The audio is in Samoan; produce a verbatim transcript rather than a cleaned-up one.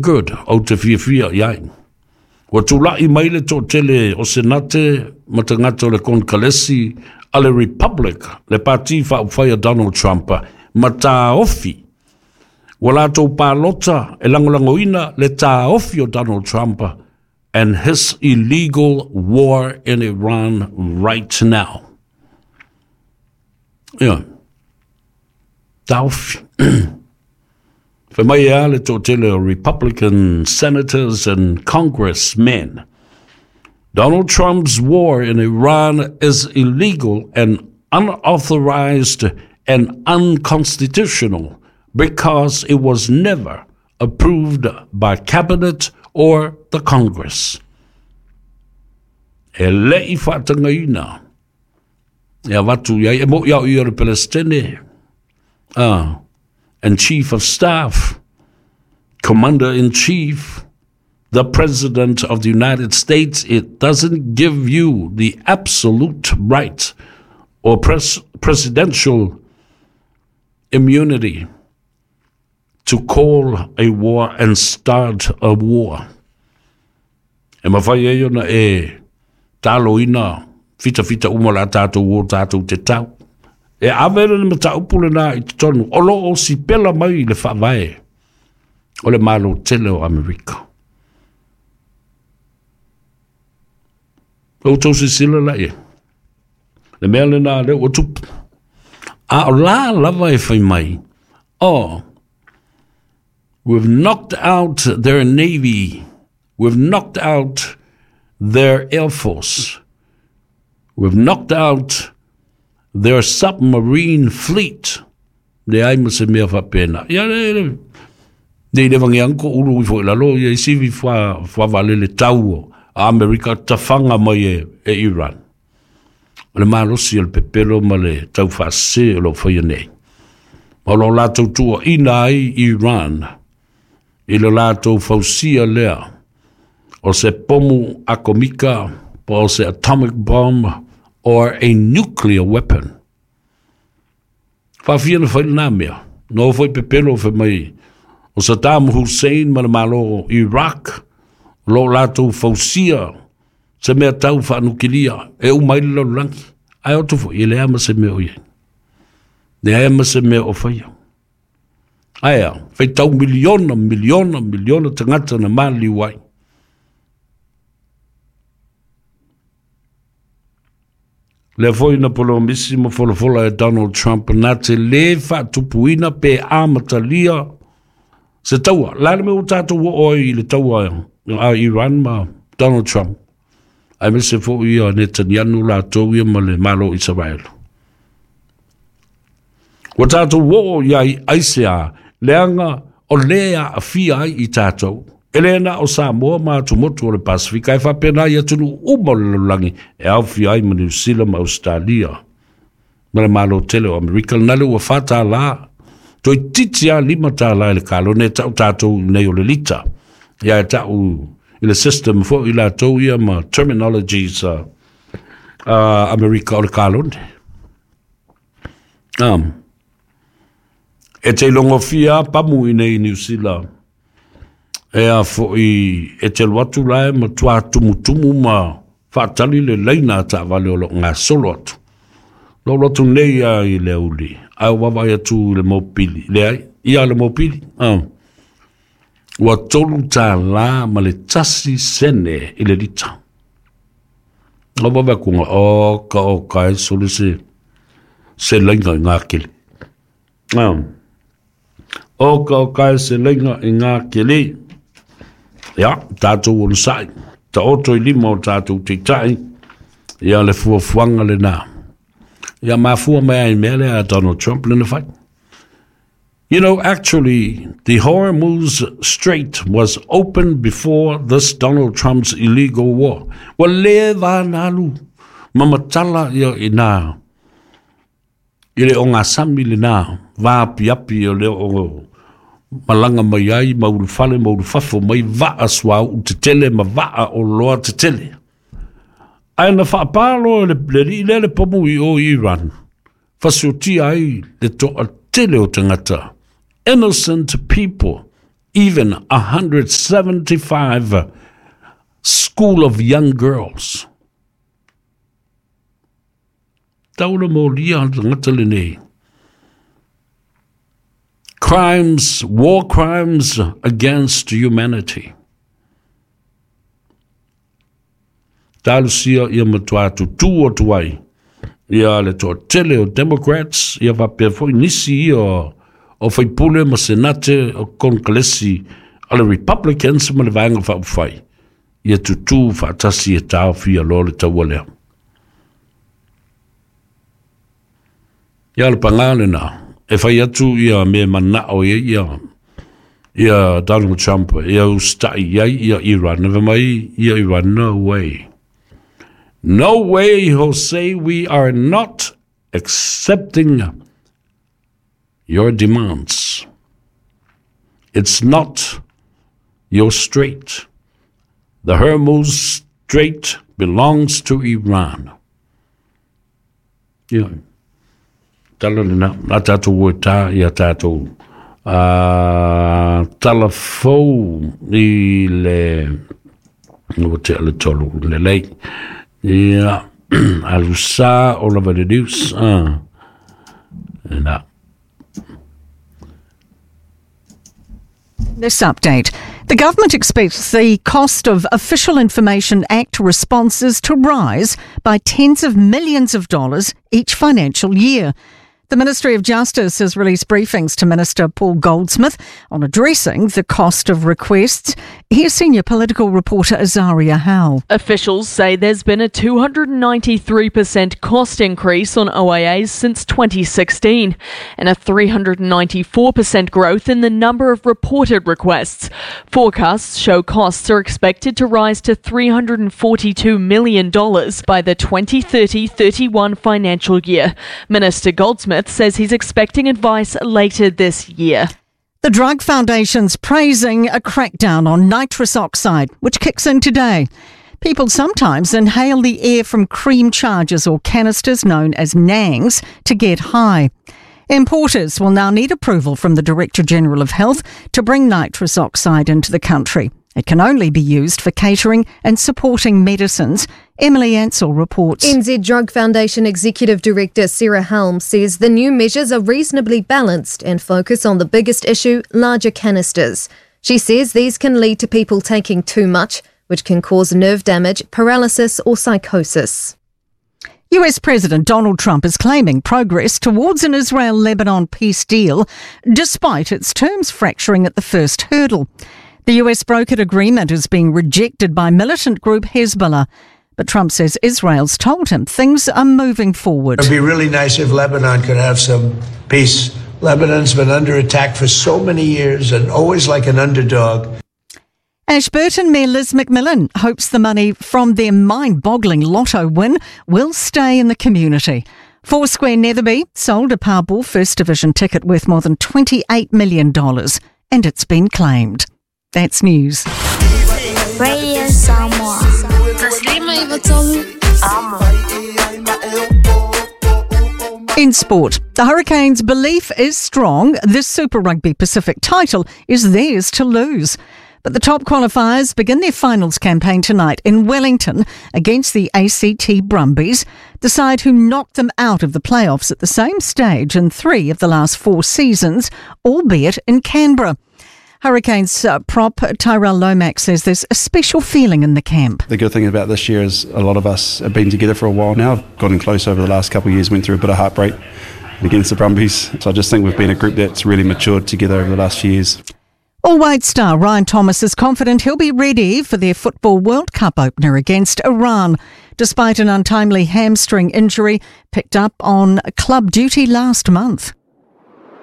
Good, ou te fiafia i ai. Ua tula'i mai le toatele o Senate ma tagata o le Konekalesi a le Republic, le pati faaupufai a Donald Trump, ma taofi. Ua latou palota e lagolagoina le taofi o Donald Trump and his illegal war in Iran right now. Ia, taofi. Fai mai e a le toatele o Republican senators and congressmen: "Donald Trump's war in Iran is illegal and unauthorized and unconstitutional because it was never approved by cabinet or the Congress." E le'i faatagaina e avatu i ai e mo'i au ia o le Pelestene uh, and chief of staff, commander-in-chief, the president of the United States, it doesn't give you the absolute right or pres- presidential immunity to call a war and start a war. E mafai e ona e taloina fitafita uma la tātou o tātou te tau. E ave le mataupu lena i totonu, o lo o sipela mai i le faavae o le Malo tele o Amerika. O tou silasila la ia. Le mea lena lea ua tupu. A o la lava e fai mai, oh, we've knocked out their navy, we've knocked out their air force, we've knocked out their submarine fleet. Leai ma se mea faapena. Ia le, le, le le vangi ko ulu i fo lalo ia isi vi fa fa vale le tau a Amerika tafanga mai e, e Iran. O le malosi o le pepelo ma le tau faasese o lo faia nei. Ma o lo latou tuuaina ai Iran i le latou fausia lea o se pomu akomika po o se atomic bomb or a nuclear weapon. Faafia na fai lena mea. No foi pepelo fai mai o Saddam Hussein ma le Malo Iraq o lo latou fausia se mea tau faanukilia e uma ai le lalolagi. Ae o atu foi e leai ma se mea o i ai. Leai ma se mea o faia. Ae a, faitau miliona, miliona, miliona tagata na maliliu ai. Lea foi na polomisi ma folafola e Donald Trump na te lē faatupuina pe amatalia se taua. La le mea ua tatou oo ai i le taua a Iran ma Donald Trump, aemaise foi ia Netanyahu latou ia ma le Malo o Isaraelu. Ua tatou oo i ai aisea, leaga o lē aafia ai i tatou. E le na o Samoa ma atumotu o le Pasifika, e faapena i atunuu uma o le lalolagi e aofia ai ma Niu Sila ma Ausetalia ma le Malo tele o Amerika. Lena le ua fa tālā, toeitiiti lava lima tālā i le kalone e tau tatou nei o le lita. Ia e tau i le system foi i latou ia ma terminologies a uh, Amerika o le kalone. Um, e te logofia pamu i nei Niu Sila e a foi e te alu atu la e matuā tumutumu ma faatali le laina a taavale o loo gasolo atu. Loo alu atu nei a i le auli, ae ua vaavaai atu i le mopili, leai, ia le mopili, ah. Ua tolu tālā ma le tasi sene i le lita. Ua vaavaai atu nga, oka oka e sole se, se laina i ngā kele. Ah. Oka oka e se laina i ngā kele. Ia, tātou onosai, taoto i lima o tātou teitai, ia le fuafuaga lenā. Ia mafua mai ai mea lea a Donald Trump lena fai. You know, actually, the Hormuz Strait was open before this Donald Trump's illegal war. Ua leva ona alu ma matala ia i nā i le ogasami lenā vaapiapi o le o malaga mai ai ma ulufale ma ulufafo mai vaa suauu tetele ma vaa oloa tetele. Ae na faapā loa e le alii lea le pomu i o i Iran, fasiotia ai le toatele o tagata, innocent people, even one hundred seventy-five school of young girls. Taula molia ngata lenei. Crimes, war crimes against humanity. Talusia ia matua tutu o tuai. Ia le toa tele o Democrats, ia wapea foi nisi ia o whaipule ma senate o kongalesi a le Republicans ma le vaenga whaufai. Ia tutu whaatasi e tāwhia lo le taua lea. Ia le pangale nā, e whai atu ia me manao ia ia, ia Donald Trump, ia ustai ia ia Iran, never mai ia Iran, no way. No way, Jose, we are not accepting your demands. It's not your strait. The Hormuz Strait belongs to Iran. Yeah. Tala lena, a tātou ua tā ia tātou. Tala fau i le, ua te ale tolu le lei. Ia, alusa o lava le news. Na. This update. The government expects the cost of Official Information Act responses to rise by tens of millions of dollars each financial year. The Ministry of Justice has released briefings to Minister Paul Goldsmith on addressing the cost of requests. Here's senior political reporter Azaria Howell. Officials say there's been a two hundred ninety-three percent cost increase on O I As since twenty sixteen and a three hundred ninety-four percent growth in the number of reported requests. Forecasts show costs are expected to rise to three hundred forty-two million dollars by the twenty thirty thirty-one financial year. Minister Goldsmith says he's expecting advice later this year. The Drug Foundation's praising a crackdown on nitrous oxide, which kicks in today. People sometimes inhale the air from cream charges or canisters known as nangs to get high. Importers will now need approval from the Director General of Health to bring nitrous oxide into the country. It can only be used for catering and supporting medicines. Emily Ansell reports. N Z Drug Foundation Executive Director Sarah Helm says the new measures are reasonably balanced and focus on the biggest issue, larger canisters. She says these can lead to people taking too much, which can cause nerve damage, paralysis or psychosis. U S President Donald Trump is claiming progress towards an Israel-Lebanon peace deal, despite its terms fracturing at the first hurdle. The U S brokered agreement is being rejected by militant group Hezbollah. But Trump says Israel's told him things are moving forward. It'd be really nice if Lebanon could have some peace. Lebanon's been under attack for so many years and always like an underdog. Ashburton Mayor Liz McMillan hopes the money from their mind-boggling lotto win will stay in the community. Foursquare Netherby sold a Powerball First Division ticket worth more than twenty-eight million dollars, and it's been claimed. That's news. Radio Samoa. In sport, the Hurricanes' belief is strong. This Super Rugby Pacific title is theirs to lose. But the top qualifiers begin their finals campaign tonight in Wellington against the A C T Brumbies, the side who knocked them out of the playoffs at the same stage in three of the last four seasons, albeit in Canberra. Hurricanes uh, prop Tyrell Lomax says there's a special feeling in the camp. The good thing about this year is a lot of us have been together for a while now. I've gotten close over the last couple of years, went through a bit of heartbreak against the Brumbies. So I just think we've been a group that's really matured together over the last few years. All White star Ryan Thomas is confident he'll be ready for their Football World Cup opener against Iran, despite an untimely hamstring injury picked up on club duty last month.